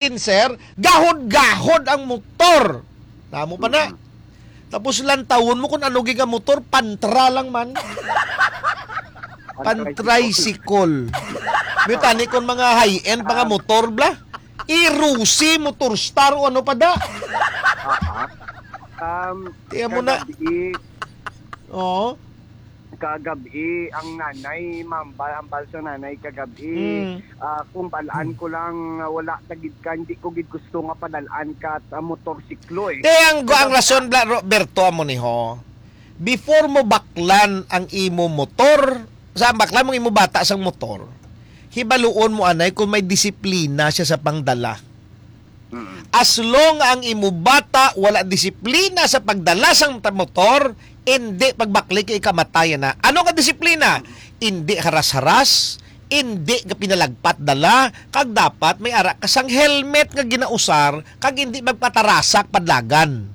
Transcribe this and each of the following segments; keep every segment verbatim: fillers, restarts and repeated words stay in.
Sir, gahod-gahod ang motor. Namo pa na. Mm. Tapos lantawon mo kung ano gid nga motor, pantra lang man. Pantricycle. May tani kon mga high-end, mga Ah. motor, bla. Irusi, Motor Star, o ano pa da. Ah, ah. Um, Tiyan mo na. Kagabi, Oo. kagabi, ang nanay, mambal, ang balsa nanay kagabi, Mm. ah, kung balaan ko lang, ah, wala ta gid ka, hindi ko gid gusto nga padalaan ka sa motorsiklo, eh. Te, ang, ang Kagabi rason, bla, Roberto, amo ni ho. Before mo baklan ang imo motor, sa baklan mo imo bata sang motor, hibaluon mo anay kung may disiplina siya sa pangdala. Mm. As long ang imo bata wala disiplina sa pagdala sang ta-, motor, hindi pagbakli kay kamatayan na. Ano nga disiplina? Hindi haras-haras, hindi ka pinalagpat dala, kag dapat may ara ka sang helmet nga ginausar, kag hindi magpatarasak padlagan.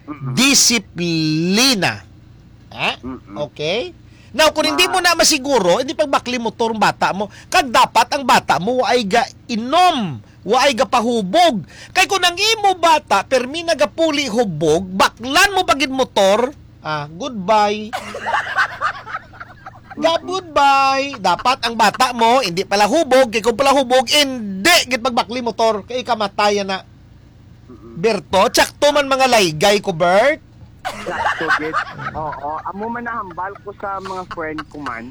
Mm-mm. Disiplina. Ha? Mm-mm. Okay? Now, kung hindi Ma- mo na masiguro, hindi pagbakli motor ang bata mo. Kag dapat ang bata mo waay ga inom, waay ga pahubog. Kay kung ang imo bata, permi nagapuli hubog, baklan mo pa gid motor, ah, goodbye. Gab, goodbye. Dapat ang bata mo, hindi pala hubog. Kay kung pala hubog, hindi gid pagbakli motor. Kay kamatayan na. Mm-mm. Berto, tsakto man mga laygay ko, Bert. Sakto gid. Oo, amo man nahambal ko sa mga friend ko man.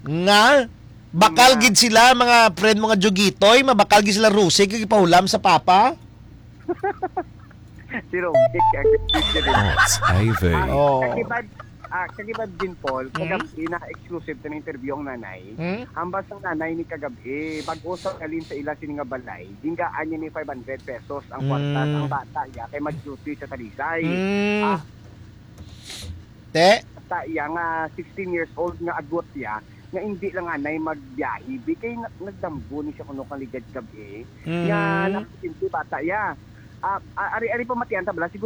Nga, bakal Nga. gid sila, mga friend mo nga Jugitoy, mabakal gid sila Rose, kay ipahulam sa papa. Si Romy, ang gid. Thoughts Ivy. Ah, Oo. Kag iba, ah, kag iba, Jean Paul, Hmm? kagabi na exclusive ta na interview ang nanay. Hmm? Hambal sang nanay ni kagabi, bag-o sa halin sa ila sini nga balay, gingaan niya ni five hundred pesos ang kwarta Hmm. sang bata niya kay mag-duty sa Talisay. Hmm. Ah, Te? Bata iya nga sixteen years old nga agot iya, nga hindi lang anay magbiyahe. Bi kay na-, nagdamgo ni siya kuno kang ligad gabi. Nga Hmm. napasinti bata iya. Ah, ah, ari, ari pamatian ta bala,